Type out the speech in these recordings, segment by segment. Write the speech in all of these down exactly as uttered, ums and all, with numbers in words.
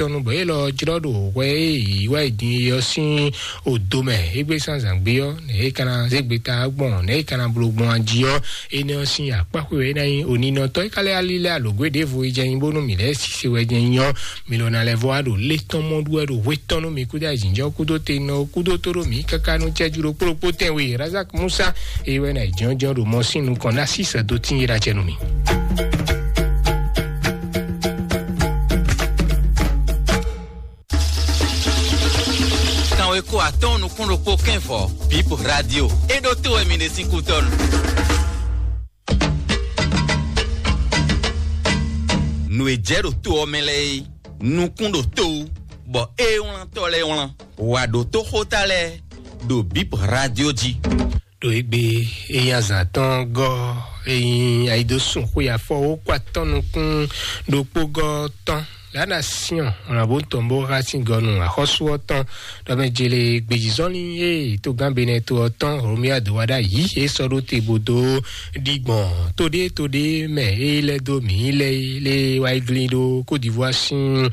atɔ́nú bɔ é lɔ jlɔ́ ɖo hwɛ e yǐ wá yi din é ɔ́ sín odo mɛ. Égbé zán zǎngbé ɔ́, nɛ̌ é ka ná zé gbeta gbɔn, nɛ̌ é ka ná bló gbɔn ají ɔ́, énɛ́ ɔ́ sín akpáxwe wɛ é ná nyí. Oninɔtɔ́ é ka lɛ́ alí lɛ́ alǒgwé ɖěvo é jɛ nyí bónú mǐ lɛ́ sise wɛ jɛ nyí ɔ́, mi lɔ ná lɛ́ vɔ wá ɖo lé tɔn mɔ ɖu wɛ ɖo hwé tɔn nú mi kúdó ayǐjínjɔ́n kúdó tenɔ kúdó tó ɖó mǐ káká nú cɛ́jú ɖokpó ɖokpó tɛnwe Razak Musa. Eye wɛ ná yi jɔnjɔn ɖo mɔ sín nukɔn ná sísɛ dó tín yíɖa cɛ nú mì. Kanweko atɔ́ɔ́n nukún ɖokpó kɛ́nvɔ, Bip Radio. É ɖó tó wɛ mi ɖe sín kútɔ́nu. Nǔ e jɛ ɖo to ɔ́ mɛ lɛ́ɛ é, nukún ɖo to wú, bɔ é wlántɔ́ lɛ́ɛ wlán. Wǎ ɖó tó xóta lɛ́ɛ ɖo Bip Radio jí. Ɖo égbé é nyí azǎn tɔn gɔ́, é nyí ayidosùn xwe afɔ wó kó atɔ́ nukún ɖokpó gɔ́ tɔn. La Nation, on a bon tombo racing gɔnu axɔ́sú ɔ́ tɔn ɖɔmɛ jele gbejizɔnlin e togán Benɛto ɔ́ tɔn Romia do wa ɖ'ayǐ e sɔ́ ɖó te bó dó ɖi gbɔn toɖé toɖé mɛ e lɛ́ dó mǐ lɛ́ lé wá yi glín ɖó Côte d'Ivoire sín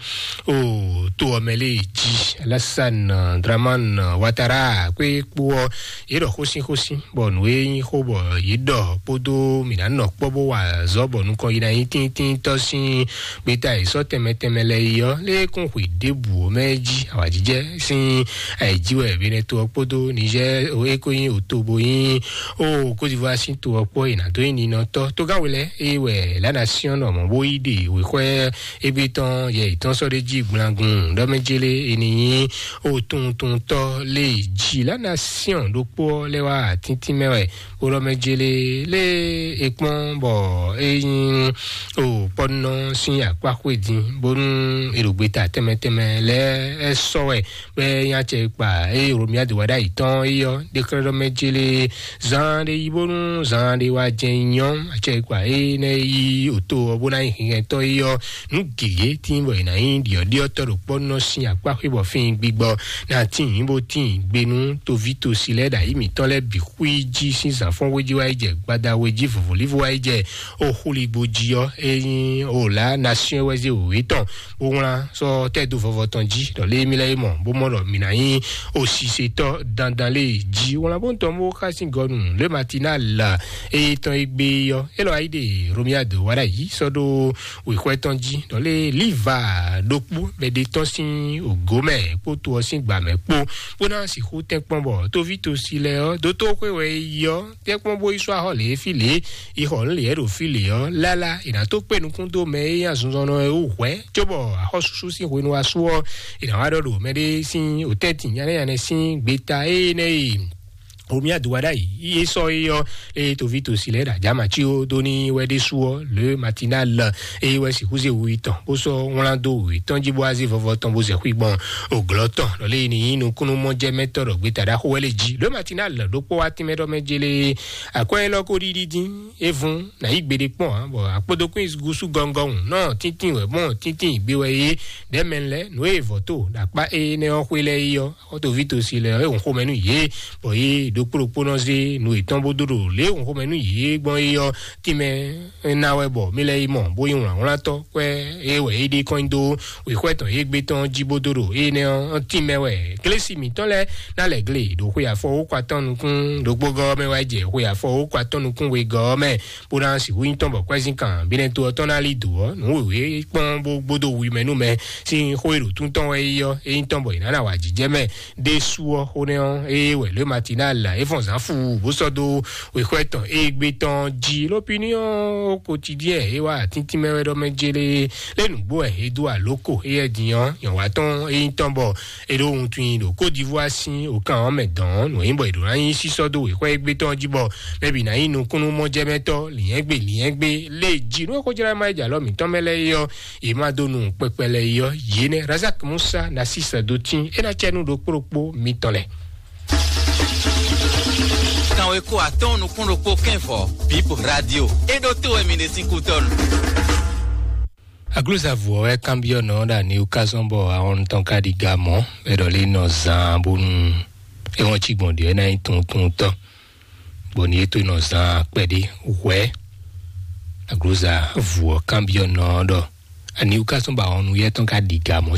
o to ɔ́ mɛ lé jí. Alassane Dramane Ouattara kpé kpó ɔ́, yě ɖɔ xósínxósín bɔ nǔ e nyí xó bɔ yě ɖɔ kpódó mǐ ná nɔ kpɔ́ bó wa azɔ̌ bɔ nukɔn yi ná nyí tíntíntɔ́ sín gbeta e sɔ́ tɛnmɛ tɛnmɛ lɛ́ɛ yi ɔ́, lé kún xwe ɖěbǔ ɔ́ mɛ jí awǎjijɛ sín ayǐjí wɛ Benɛto ɔ́ kpódó Niger e ko nyí oto bo nyí o Côte d'Ivoire sín to ɔ́ kpó e ná dó nyí ninɔtɔ́. Tógáwe lɛ́ɛ e wɛ La Nation nɔ mɔ̌ bó yí ɖe wěxwɛ́ égbé tɔn yɛ yětɔn sɔ́ ɖ'é jí gblangun ɖɔ mɛ jélé e ní nyí o tuntuntɔ́ lé jí La Nation ɖokpó ɔ́ lɛ́ wá tíntín mɛ wɛ. Wlɔmɛ jele lé e kpɔ́n bɔ é nyí o kpɔ́nɔ sín akpá xwé din bónú è ɖo gbeta tɛnmɛ tɛnmɛ lɛ́ɛ sɔ́ wɛ bɔ é nyí acɛ kpa eye Romia de wa ɖ'ayǐ tɔn é ɔ́, ɖeklɛ́ɖɔmɛ jele zan ɖé yi bónú zan ɖé wá jɛ nyɔ́ acɛ kpa énɛ́ yi oto ɔ́ bó ná nyí hɛngɛntɔ́ é ɔ́, nǔ gěgé tín bɔ è nǎ nyí ɖiɔ̌ɖiɔ́tɔ́ ɖo kpɔ́nɔ sín akpá xwé bɔ fín gbigbɔ ná tín bó tín gbe nú toví tosi lɛ́ɛ ɖo ayǐ mǐtɔn lɛ́ɛ bǐ xwí jí sín zǎnfɔ́n wé jí wá yi jɛ gbada wé jí vɔ̌vɔ́lífɔ wá yi jɛ o xúligbo jí ɔ́, é nyí o La Nation wɛ zé wěwé tɔn bó wlán sɔ́ tɛ́ dó vɔvɔ tɔn jí ɖɔ lé mí lɛ́ɛ é mɔ bó mɔ ɖɔ mǐ ná nyí o sisetɔ́ dandan lé jí wlán bó tɔn bó xá sín gɔnu lé Matinal la é tɔn é gbé ɔ́, é lɔ ayí ɖe Romia do wá ɖ'ayǐ sɔ́ ɖó wěxwɛ́ tɔn jí ɖɔ lé Liva ɖokpó bɛ ɖe tɔ́n sín ògó mɛ kpó to ɔ́ sín gbǎ mɛ kpó bó ná sixú tɛ́nkpɔ́n bɔ tóví tosi lɛ́ɛ ɔ́ dótó xwé wɛ é yi ɔ́ tɛ́nkpɔ́n bó yi sɔ́ axɔ́ lě fí lě yi xɔ nǔ lě ɖo fí lě ɔ́ lála è nǎ tó kpé nukún dó mɛ e nyí azinzɔnnɔ e wú hwɛ̌ cóbɔ axɔ́súsú sín hwenu wá sú ɔ́ è nǎ wá ɖɔ ɖo mɛɖé sín òtɛ́ntin nyánɛ́nyánɛ́ sín gbeta énɛ́ e Romia do wa ɖ'ayǐ yí é sɔ́ é ɔ́, eye toví tosi lɛ́ɛ ɖo ajǎmací ó dó ní wɛ ɖésú ɔ́, Le Matinal eye wɛ sixú zé wu tɔn bó sɔ́ wlán dó wětɔn jí bó wá zé vɔvɔ tɔn bó zɛ xwí gbɔn òglɔ́ tɔn lɔ lé ní nyí nukúnnú mɔjɛmɛtɔ́ ɖɔ gbeta ɖaxó wɛ lé jí. Le Matinal ɖokpó wá tínmɛ ɖɔ mɛ jélé akwɛ́ élɔ́ kó ɖiɖi dín é vún nǎ yí gbeɖé kpɔ́n ǎ, bɔ akpódókún gúsú gɔngɔn nɔ tíntín wɛ mɔ tíntín gbé wɛ é ɖɛ̌ mɛ lɛ́ɛ nǔ e vɔ̌ to ɖo akpá énɛ́ ɔ́ xwé lɛ́ɛ é ɔ́, xɔ́tɔ́ví tosi lɛ́ɛ é hun xomɛ nú yě, bɔ yě ɖokpó ɖokpó nɔ zé nǔ yětɔn bó dó ɖo lě e hun xomɛ nú yě gbɔn é ɔ́, tínmɛ ná wɛ bɔ mí lɛ́ yi mɔ bó nyí wlǎnwlántɔ́ kwɛ́ é wɛ é ɖe kɔn nyi dó wěxwɛ́ tɔn égbé tɔn jí bó dó ɖo énɛ́ ɔ́ tínmɛ wɛ. Glesi mǐtɔn lɛ́ɛ ná lɛ̌ gle ɖo xwe afɔ wókɔ atɔ́ nukún ɖokpó gɔ́ ɔ́ mɛ wá jɛ xwe afɔ wókɔ atɔ́ nukún wegɔ́ ɔ́ mɛ, bó ná sixú nyí tɔn bɔ kwɛ́zínkàn Benɛto ɔ́ tɔn ná lí dǒ ɔ́, nǔ wěwé kpɔ́n bó gbódó wi mɛ nú mɛ sín xó e ɖo tún tɔn wɛ é ɔ́, é nyí tɔn bɔ è nǎ ná wa jǐjɛ mɛ. Ɖésú ɔ́, xó nɛ́ ɔ́, ée wɛ Le Matinal é fɔn zǎn fu bó sɔ́ dó wěxwɛ́ tɔn égbé tɔn jí. L'Opinion Quotidien é wá atíntín mɛ wɛ ɖɔ mɛ jélé lé nǔgbó wɛ é dó alǒ ko éyɛ́ din ɔ́, nyɔ̌wá tɔn é nyí tɔn bɔ è ɖo wuntun nyi ɖo Côte d'Ivoire sín òkan ɔ́ mɛ dɔn ɔ́, nǔ e nyí bɔ è ɖǒ ná nyí sísɔ́ dó wěxwɛ́ égbé tɔn jí bɔ mɛ bǐ ná nyí nukúnnú mɔjɛmɛtɔ́ lǐnyɛ́gbe lǐnyɛ́gbe lé jí. Nú é xó jlá má yi jɛ alɔ mǐtɔn mɛ lɛ́ɛ é ɔ́, yě má dó nu kpɛkpɛ lɛ́ɛ é ɔ́, yě nɛ́ Razak Musa ná sísɛ dó tín é ná cɛ nú ɖokpó ɖokpó mitɔn lɛ́ɛ. Kanweko atɔ́ɔ́n nukún ɖokpó kɛ́nvɔ, Bip Radio. É ɖó tó wɛ mi ɖe sín kútɔ́nu. Aglúzavǔ ɔ́ wɛ kanbyɔ́ nɔ ɖo ani wú ká zɔ́n bɔ ahɔn tɔn ka ɖi ga mɔ̌, bɔ é ɖɔ lé nɔ zaan bónú é wɔn cí gbɔn ɖě é ná nyí tunwuntunwuntɔ́. Bɔ ní é tó nɔ zaan kpɛɖé hwɛ̌. Aglúzavǔ ɔ́ kanbyɔ́ nɔ ɔ́ ɖɔ ani wú ká zɔ́n bɔ ahɔn nuyɛ́ tɔn ka ɖi ga mɔ̌